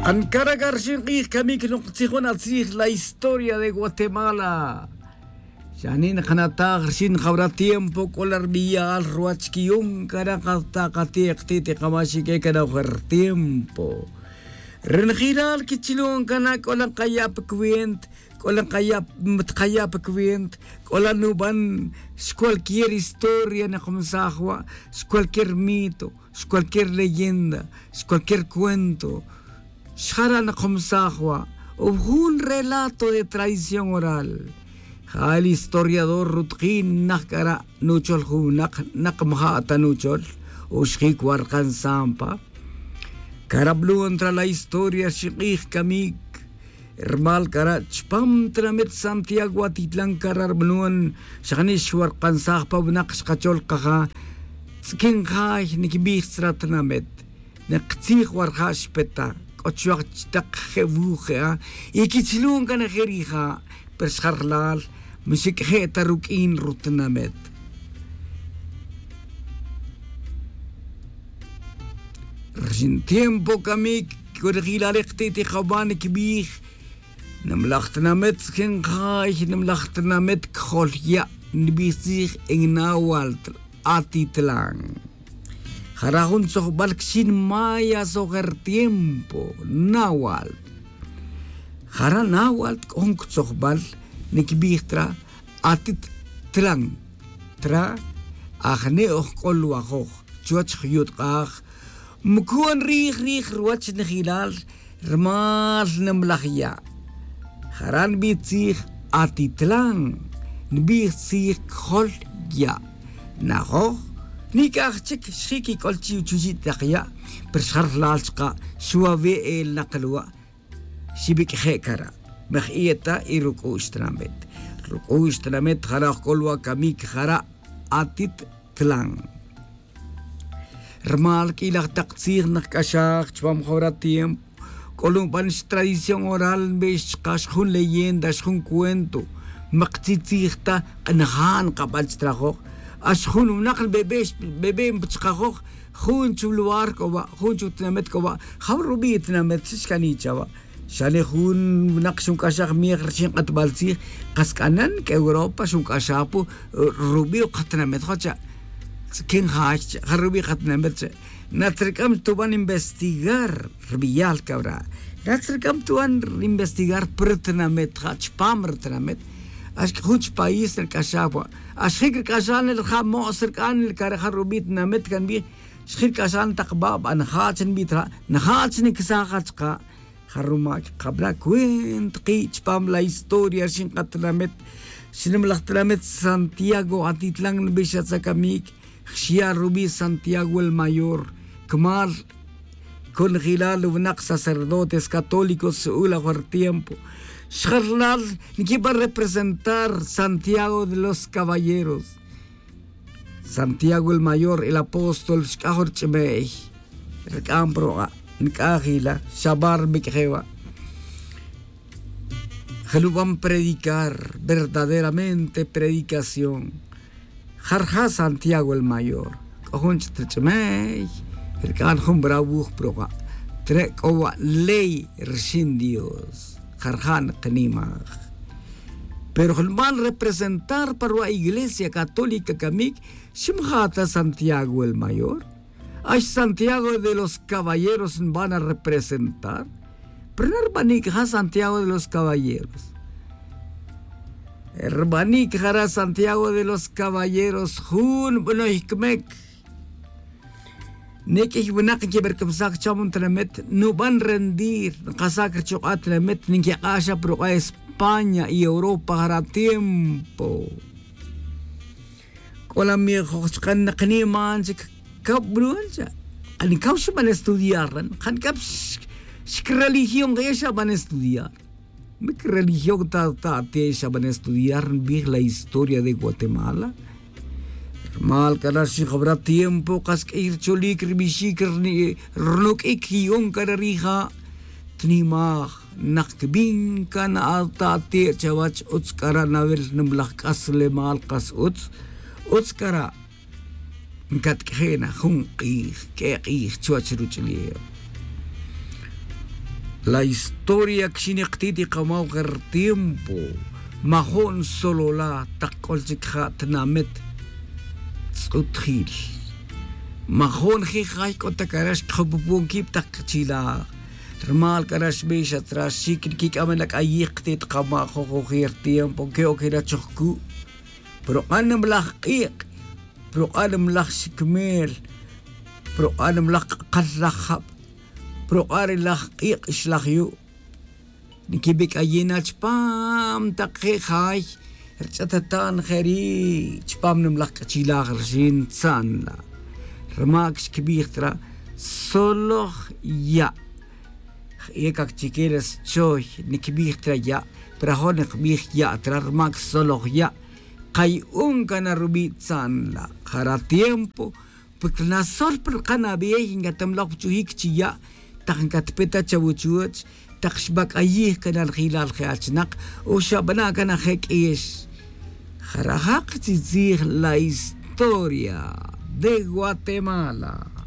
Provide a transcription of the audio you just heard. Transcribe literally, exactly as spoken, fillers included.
Ancara' ca rxin k'ij camic noktzijun atzij la historia de guatemala. Xani' nakanataj rxin jawra tiempo c'o la rbiyal ruwach quiyon cara' kata kati'ek ti' ti kamaxic e cara' ojer tiempo. Ri najilal quichilon cana c'o la kaya' pa cuenta, c'o la kaya' tkaya' pa cuenta, c'o la nuban xcualquier historia nakamsaj wa', xcualquier mito, xcualquier leyenda, xcualquier cuento. Xjara' nakamsaj wa' o jun relato de tradición oral. Ja el historiador rutkin naj c'ara' nuchol jun winak nakmaja' ta nuchol o xjic wa' rkan sampa. Cara' blon tra la historia xik'ij camic. Rmal cara' chpam tinamit santiago atitlan cara' rbnon xajni' xwarkansaj pa winak xkachol kaja. Tz'iquin jay niquibij tzra tinamit. Niktzij warja' xpeta c'o chuwaj chitak je' wuj je'a. Y quichilon can je' rija' pero xjarlal. Mixic'je' ta ruq'uin rutinamit. Rxin tiempo camic c'o rijilal ri kati'tik awan quibij. Nimlaj tinamit tzijin jay nimlaj tinamit cjol ya' nibij tzij en nawal. Atitlan jara' jun tzojbal quixin maya sojer tiempo nawal. Jara' nawal c'o jun tzojbal niquibij tra. Atit tlan tra ajni' ojc'ol wajoj chuwech juyutk'aj. Mucun rij rij ruwach nijilal rmal nimlaj ya'. Jara' nbij tzij atitlan nbij tzij cjol ya'. Najoj nic'aj chic xjic quic'ol chi' chuchi' tak ya'. Pero xjarlal chka' xwawe' elnak lwa'. Xibiq'je' cara' maj iyeta y ruc'u'x tinamit. Ruc'u'x tinamit jara' ojc'ol wa' camic jara' atit tlan. Rmal q'uilaj tak tzij nakc'axaj chupam jawra tiempo c'o lon ban xtradición oral nbix chka xjun leyenda xjun cuento. Mak tzij tzij ta k'anaja' nkabal chi trajoj. Ax jun winak nbebe' nbebe' chkajoj jun chu lugar c'o wa' jun chu tinamit c'o wa'. Jaw rubi' tinamit xcani' chawa'. Xane' jun winak xunc'axaj miej rixin k'atbal tzij kas c'anan c'e europa xunc'axaj pu rubi' o katinamit jocha'. Tz'iquin jay che' ja rubi' katinamit che'. Natzric'am tuban investigar rbiyal cawra'. Natzric'am tuban investigar pi ritinamit ja chupam ritinamit. Axc'a jun chi país rc'axaj wa'. Axjic rc'axaj nel ja mo's rc'an nel care' ja rubi' tinamit can bi'. Xjil c'axan tak baba' najach nbit ja najach nicsaj ja chka'. Ja rumac kabla' cuent ki' chupam la historia rixin katinamit. Xnimlaj tinamit santiago atitlan nbix atza camic. Xya' rubi' santiago el mayor. Cmal conjilal winak sacerdotes católicos xu'ul ajuer tiempo. Xjarlal nquiba' representar santiago de los caballeros. Santiago el mayor el apóstol xc'aj ru ch'imey. Rc'am ru nic'aj ila xabar mic'je' wa'. Jeluban predicar verdaderamente predicación. Jarja' santiago el mayor c'o jun ch'it ru ch'imey. Rc'an jun bra wuj pruka' tre' c'o wa' ley rixin dios. Jarja' nikanimaj. Pero jun nban representar pa ruwa' iglesia católica camic xim ja ta santiago el mayor. Ax santiago de los caballeros nban a representar. Pero na rbanic ja santiago de los caballeros. Rbanic jara' santiago de los caballeros jun banoy cmec. Niq'uiy winak nquibercamsaj cham jun tinamit nuban rendir nkasac richuk'a' tinamit ninquik'a' xa pa ruk'a' españa y europa jara' tiempo. C'o la mijoj chka' nakaniman chic. Cab bluan cha' anicaw xban estudiar ran janicab xcreligión kaya xaban estudiar. Mic religión ta ta ati'e xaban estudiar nbij la historia de guatemala. Rmal c'a la rxin jawra tiempo kas q'uiy rcholic rbixic rnuq'uic quiyon c'a ra rija'. Tnimaj nak cbin can ata ati'e chawach utz c'a ra nawil nimlaj c'aslemal kas utz. Utz c'a ra' ncatq'ueje' na jun k'ij q'ue k'ij chuwech ruch'ulef. La historia kxin ikti't ikamaw je ri tiempo. Majo'n solola tak k'ol chik ja' tinamet tz'utjil. Majo'n je jay k'o tak ara xkjupupon kib tak kchilaj. Rmal k'ara xbix atzra xik nkik'amen ak'ayij kti't kama' jojojir tiempo ke'okira chojku'. Proq'a' nimlaj q'iq', proq'a' nimlaj xikmel, proq'a' nimlaj q'aqal laj jab', proq'a' ri laj q'iq' xlaj yu'. Nikibik'ayina chupam taq je' jay rich'atatan je ri' chupam nimlaj k'achilaj rixin tza'an la'. Rma' xkibij tra soloj ya'. Ekak chike la schoy nikibij tra ya', pero ajo' nikbij ya' tra rma' soloj ya'. Qayu'un can na rubi' tza'an la'. Jara' tiempo porque nasol pa rqan abey ncatamlaj pa chujic chi ya' tak ncatpe ta chawuchuwech tak xbac'ayij can na rajilal je achinak o xabana' can aje q'uiyex. Jara' ja' kachitzij la historia de guatemala.